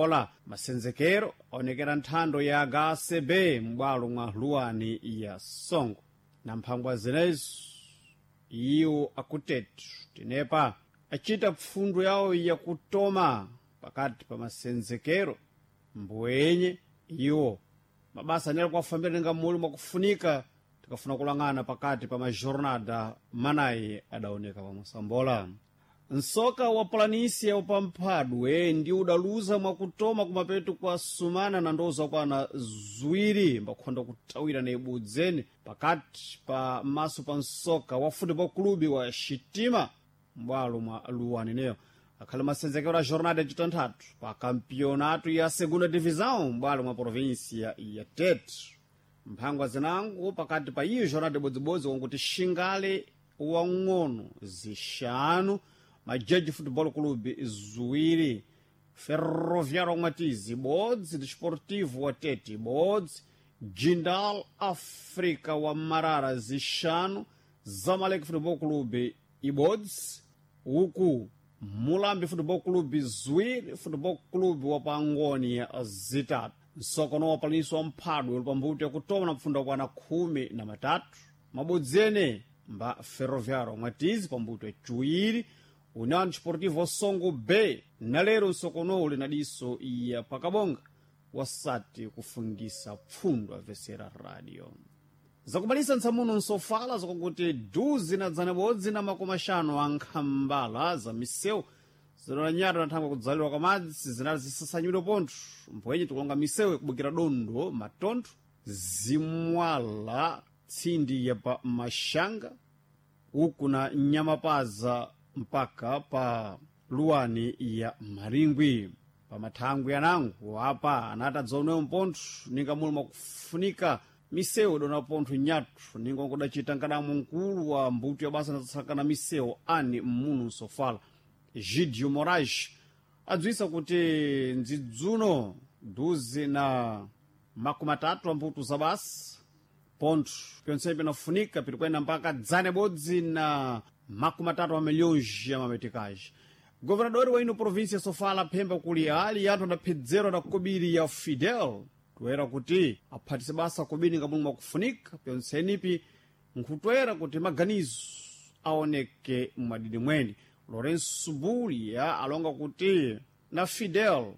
Ola masenzekero aonekera nthando ya HCB m'bwalo mwa luwani ya Songo. Na mphangwa zinezo iwo akutetu tenepa acita pfundo yawo yakutoma pakati pa masenzekero mbwenye iwo mabasa anali kuwafambira ninga muli mwakufunika tikafuna kulang'ana pakati pa majornada manayi adaoneka pa Mosambola. Nsoka wa Planísia upamphadwe ndi udaluza mwakutoma kumapeto kwa sumana na ndoza kwana ziwiri mbakhonda kutawira na ibudzeni pakati pa maso pa nsoka wa futebol clube wa Xitima m'bwalo mwa luwani neyo akhale masenzekero a jornada yacitanthatu pa kampionato ya segunda divisão m'bwalo mwa província ya Tete. Mphangwa zinango pakati pa iyo jornada ibodzibodzi wanguti Xingale wang'ono zixanu, Majeji Futebol Clube ziwiri, Ferroviário Matizi ibodzi, Desportivo wa Tete ibodzi, Jindal Africa wa Marara zixanu, Zamalek Futebol Clube ibodzi, uku Mulambi Futebol Clube ziwiri, Futebol Clube wa Pangoni zitatu. Msokono wa Planísia wa mphadwe uli pambuto yakutoma na mpfunda kwana 13 mabodzi ene mba Ferroviário Mwatizi pambuto yaciwiri, União Desportivo Songo B na lero msokono uli na diso ya pakabonga wasati kufungisa pfundo avesera radio zakubalisa ntsamuno nsofala zakuti duzi na dzana bodzi na makumi axanu a nkhambala za misewu zinalanyata na thangwe kudzalirwa kwa madzi zinali zisasanyidwe pontho mbwenye tikulonga misewu ikubukira dondo matontho zimwala tsindi ya pa maxanga uku na nyamapaza mpaka pa luwani ya maringwi. Pamathangwi anango apa anati adzaonewo mpontho ninga muli mwakufunika misewu idona pontho nyathu ninga nkudacita nkadamo mkulu wa mbuto ya basa natsakana misewu ani mmunu nsofala Gidio Moraes adziwisa kuti ndzidzuno duzi na 30 a mbuto za basa pontho pyonse pinafunika pitikwena mpaka dzana bodzi na 30 a milhões ya mametikaji. Governador wa ino província Sofala phemba kuli ali anthu adaphedzerwa na kobiri ya Fidel toera kuti aphatise basa kobiri nga mulungu mwakufunika pyontsenipi nkhutwera kuti maganizo aoneke mwadidi mwene. Lourenço Bulia alonga kuti na Fidel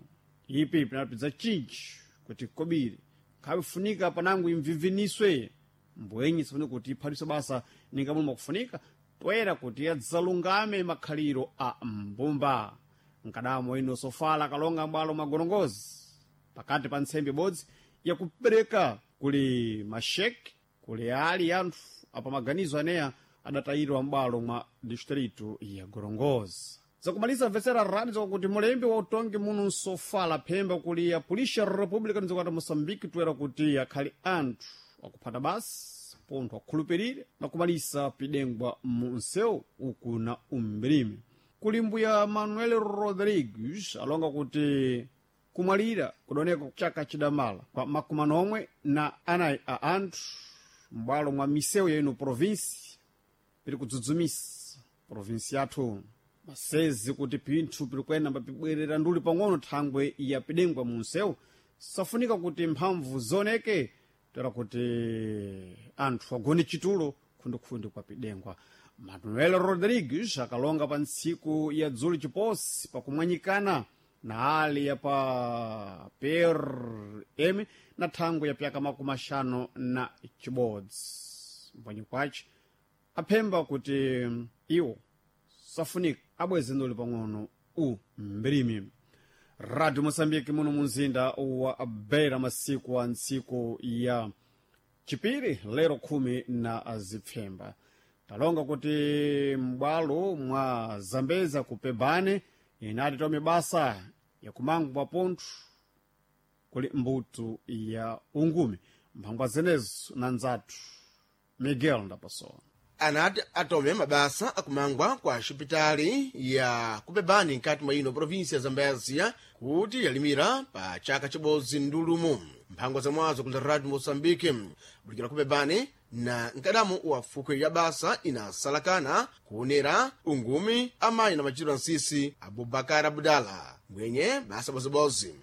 ipi pinapidza chinji kuti kobiri nkhawifunika panango imviviniswe mbwenyi sifune kuti iphatise basa ninga mulungu mwakufunika toera kuti adzalungame makhaliro a mbumba. Nkadamo ino Sofala kalonga m'bwalo mwa gorongozi pakati pa ntsembe ibodzi yakupereka kuli masheke kuli ali anthu apamaganizo aneya adatayidwa m'bwalo mwa distrito ya Gorongozi. Zakumaliza mvetsera radio zakuti mulembi wa utongi muno nsofala phemba kuli ya Polícia República nizokati Moçambique toera kuti akhali anthu akuphata basi pontho akhulupirire na kumalisa pidengwa mu nsewu uku na umbirime. Kuli mbuya Manuel Rodrigues alonga kuti kumwalira kudaoneka chaka chidamala kwa 44 a anthu m'bwalo mwa misewu ya ino provinsi piri kudzudzumisa provinsi yathu masezi kuti pinthu piri kuyenda mbapibwerera nduli pang'ono thangwe ya pidengwa mu nsewu safunika kuti mphamvu zioneke toera kuti anthu agone chitulo khundikhundi kwa pidengwa. Manuel Rodrigues akalonga pa ntsiku ya dzulo chiposi pakumwanyikana na ali ya pa PRM na thangwe ya pyaka 51 mbwanyi kwace aphemba kuti iwo safunika abweze nduli pang'ono u mbirimi. Radio Moçambique muno munzinda wa Beira masiku a ntsiku ya chipiri lero 10 na zipfemba talonga kuti m'bwalo mwa Zambeza kupebane inati tome basa yakumangwa pontho kuli mbuto ya ungumi mphangwa zenezo na nzathu Miguel Ndapasowa. Anati atome mabasa akumangwa kwa xipitali ya kupebani nkati mwa ino província ya Zambézia kuti yalimira pa chaka chibodzi ndulumu. Mphangwa zamwazo kula Radio Moçambique bulikira kupebani na nkadamu wa fukwe ya basa inasalakana kuonera ungumi amayi na machiro ansisi Abubakar Abdala mwenye basa bozibozi.